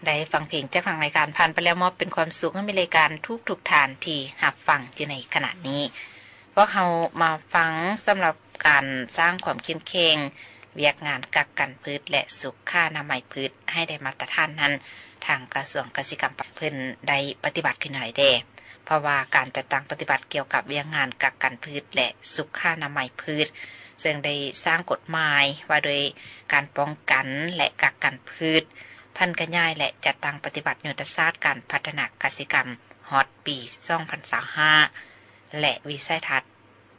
ໄດ້ຟັງເພງຈາກທາງລາຍການຜ່ານໄປແລ້ວ ມອບເປັນຄວາມສຸກໃຫ້ແມ່ນລາຍການທຸກໆທ່ານທີ່ຮັບຟັງຢູ່ໃນຂະນະນີ້. ພວກເຮົາມາຟັງສຳລັບການສ້າງຄວາມເຂັ້ມແຂງວຽກງານກັກກັນພືດ ແລະ ສຸຂານະໄມພືດໃຫ້ໄດ້ມາດຕະຖານນັ້ນ, ທາງກະຊວງກະສິກຳເພິ່ນໄດ້ປະຕິບັດຂຶ້ນແນວໃດແດ່? ເພາະວ່າການຈັດຕັ້ງປະຕິບັດກ່ຽວກັບວຽກງານກັກກັນພືດ ແລະ ສຸຂານະໄມພືດ ເຊິ່ງໄດ້ສ້າງກົດໝາຍວ່າໂດຍການປ້ອງກັນ ແລະ ກັກກັນພືດ, ຜັນຂະຫຍາຍ ແລະ ຈັດຕັ້ງປະຕິບັດຍຸດທະສາດການພັດທະນາກະສິກຳຮອດປີສອງພັນຊາວຫ້າ ແລະ ວິໄສທັດ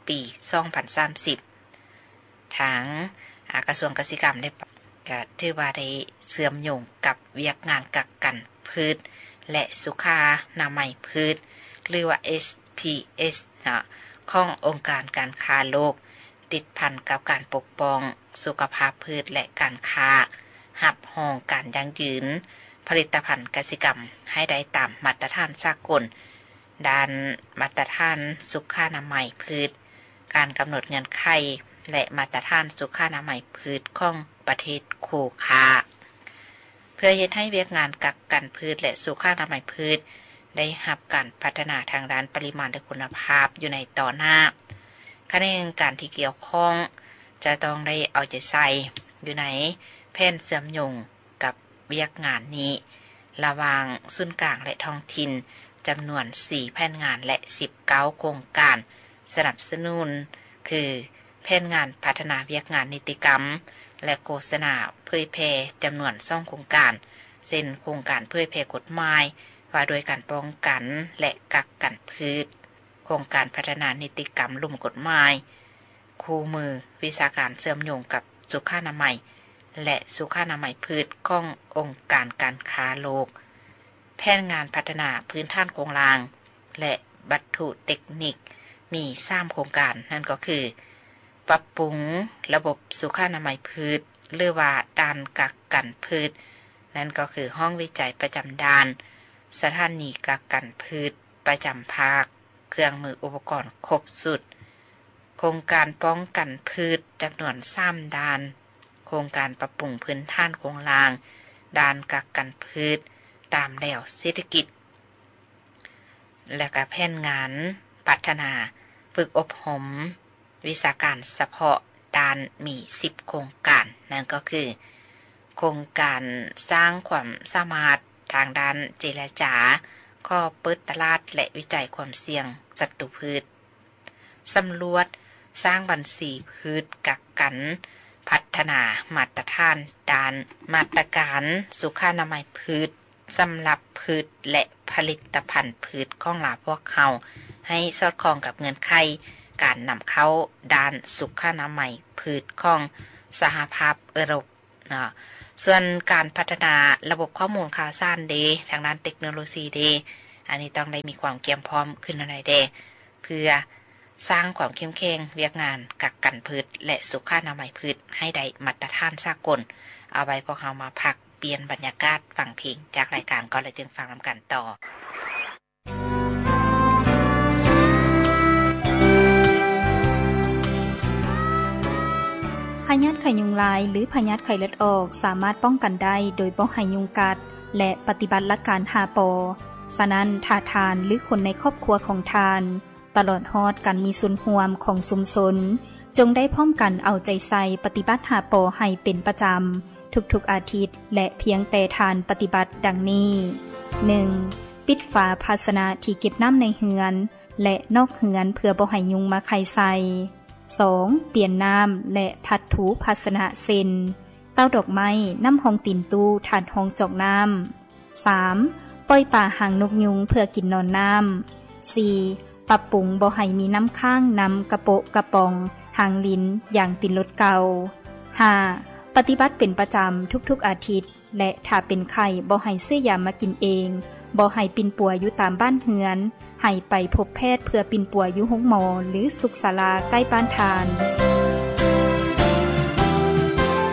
ປີສອງພັນສາມສິບ. ທາງ ອາ ກະຊວງກະສິກຳໄດ້ ກະຖືວ່າໄດ້ເຊື່ອມໂຍງກັບວຽກງານກັກກັນພືດ ແລະ ສຸຂານະໄມພືດ ຫຼືວ່າ ເອສ ພີ ເອສ ເນາະ ຂອງອົງການການຄ້າໂລກ ຕິດພັນກັບການປົກປ້ອງສຸຂະພາບພືດ ແລະ ການຄ້າຮັບຮອງການຢັ້ງຢືນຜະລິດຕະພັນກະສິກຳໃຫ້ໄດ້ຕາມມາດຕະຖານສາກົນ ດ້ານມາດຕະຖານສຸຂານະໄມພືດ, ການກຳນົດເງື່ອນໄຂ ແລະ ມາດຕະຖານສຸຂານະໄມພືດຂອງປະເທດຄູ່ຄ້າ. ເພື່ອເຮັດໃຫ້ວຽກງານກັກກັນພືດ ແລະ ສຸຂານະໄມພືດໄດ້ຮັບການພັດທະນາທາງດ້ານປະລິມານ ແລະ ຄຸນນະພາບຢູ່ໃນຕໍ່ໜ້າ, ຂະແໜງການທີ່ກ່ຽວຂ້ອງຈະຕ້ອງໄດ້ເອົາໃຈໃສ່ຢູ່ໃນແຜນເຊື່ອມໂຍງ ກັບວຽກງານນີ້ລະຫວ່າງສູນກາງ ແລະ ທ້ອງຖິ່ນ ຈຳນວນສີ່ແຜນງານ ແລະ ສິບເກົ້າໂຄງການສະໜັບສະໜູນ ຄື ແຜນງານພັດທະນາວຽກງານນິຕິກຳ ແລະ ໂຄສະນາເຜີຍແຜ່ ຈຳນວນສອງໂຄງການ ເຊັ່ນ ໂຄງການເຜີຍແຜ່ກົດໝາຍວ່າດ້ວຍການປ້ອງກັນ ແລະ ກັກກັນພືດ, ໂຄງການພັດທະນານິຕິກຳລຸ່ມກົດໝາຍ, ຄູ່ມືວິຊາການເຊື່ອມໂຍງກັບສຸຂານະໄມ ແລະ ສຸຂານະໄມພືດຂອງອົງການການຄ້າໂລກ, ແຜນງານພັດທະນາພື້ນຖານໂຄງລ່າງ ແລະ ວັດຖຸເຕັກນິກ ມີສາມໂຄງການ, ນັ້ນກໍຄື ປັບປຸງລະບົບສຸຂານະໄມພືດ ຫຼືວ່າດ່ານກັກກັນພືດ, ນັ້ນກໍຄືຫ້ອງວິໄຈປະຈຳດ່ານ, ສະຖານີກັກກັນພືດປະຈຳພາກ, ເຄື່ອງມືອຸປະກອນຄົບຊຸດ, ໂຄງການປ້ອງກັນພືດຈຳນວນສາມດ່ານ, ໂຄງການປັບປຸງພື້ນຖານໂຄງລ່າງ, ດ່ານກັກກັນພືດຕາມແລວເສດຖະກິດ ແລະ ກະແຜນງານພັດທະນາຝຶກອົບຮົມວິຊາການສະເພາະດ້ານມີສິບໂຄງການ, ນັ້ນກໍຄື ໂຄງການສ້າງຄວາມສາມາດທາງດ້ານເຈລະຈາ, ຂໍເປີດຕະຫຼາດ ແລະ ວິໄຈຄວາມສ່ຽງສັດຕູພືດ, ສຳຫຼວດສ້າງບັນຊີພືດກັກກັນ, ພັດທະນາມາດຕະຖານດ້ານມາດຕະການສຸຂານະໄມພືດ ສຳລັບພືດ ແລະ ຜະລິດຕະພັນພືດຂອງລາວພວກເຮົາ ໃຫ້ສອດຄ່ອງກັບເງື່ອນໄຂການນຳເຂົ້າດ້ານສຸຂານະໄມພືດຂອງສະຫະພາບເອີຣົບເນາະ. ສ່ວນການພັດທະນາລະບົບຂໍ້ມູນຂ່າວສານເດ, ທາງດ້ານເຕັກໂນໂລຊີເດ, ອັນນີ້ຕ້ອງໄດ້ມີຄວາມກຽມພ້ອມຂຶ້ນແນວໃດແດ່ ເພື່ອ ສ້າງຄວາມເຂັ້ມແຂງວຽກງານກັກກັນພືດ ແລະ ສຸຂານະໄມພືດໃຫ້ໄດ້ມາດຕະຖານສາກົນ. ເອົາໄວ້ພວກເຮົາມາພັກປ່ຽນບັນຍາກາດຟັງເພງຈາກລາຍການກ່ອນ ແລ້ວຈຶ່ງຟັງນຳກັນຕໍ່. ພະຍາດໄຂ້ຍຸງລາຍ ຫຼື ພະຍາດໄຂ້ເລືອດອອກ ສາມາດປ້ອງກັນໄດ້ໂດຍບໍ່ໃຫ້ຍຸງກັດ ແລະ ປະຕິບັດຫຼັກການຫ້າ ປ. ສະນັ້ນ, ຖ້າທ່ານ ຫຼື ຄົນໃນຄອບຄົວຂອງທ່ານ ຕະຫຼອດຮອດການມີສ່ວນຮ່ວມຂອງຊຸມຊົນ ຈົ່ງໄດ້ພ້ອມກັນເອົາໃຈໃສ່ປະຕິບັດຫ້າ ປ ໃຫ້ເປັນປະຈຳທຸກໆອາທິດ ແລະ ພຽງແຕ່ທ່ານປະຕິບັດດັ່ງນີ້: ໜຶ່ງ ປິດຝາພາຊະນະທີ່ເກັບນ້ຳໃນເຮືອນ ແລະ ນອກເຮືອນ ເພື່ອບໍ່ໃຫ້ຍຸງມາໄຂ່ໃສ່. ສອງ ປ່ຽນນ້ຳ ແລະ ພັດຖູພາຊະນະ ເຊັ່ນ ເຕົ້າດອກໄມ້, ນ້ຳຮອງຕີນຕູ້, ຖາດຮອງຈອກນ້ຳ. ສາມ ປ່ອຍປາຫາງນົກຍຸງເພື່ອກິນໜອນນ້ຳ. ສີ່ ປັບປຸງບໍ່ໃຫ້ມີນ້ຳຄ້າງນຳກະໂປະກະປ໋ອງ, ຫາງລິນ, ຢາງຕີນລົດເກົ່າ. ຫ້າ ປະຕິບັດເປັນປະຈຳທຸກໆອາທິດ ແລະ ຖ້າເປັນໄຂ້ ບໍ່ໃຫ້ຊື້ຢາມາກິນເອງ, ບໍ່ໃຫ້ປິ່ນປົວຢູ່ຕາມບ້ານເຮືອນ, ໃຫ້ໄປພົບແພດເພື່ອປິ່ນປົວຢູ່ໂຮງໝໍ ຫຼື ສຸກສາລາໃກ້ບ້ານທ່ານ.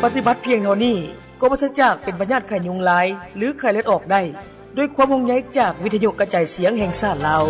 ປະຕິບັດພຽງເທົ່ານີ້ ກໍປາສຈາກເປັນພະຍາດໄຂ້ຍຸງລາຍ ຫຼື ໄຂ້ເລືອດອອກໄດ້ ດ້ວຍຄວາມຫ່ວງໃຍຈາກວິທະຍຸກະຈາຍສຽງແຫ່ງຊາດລາວ.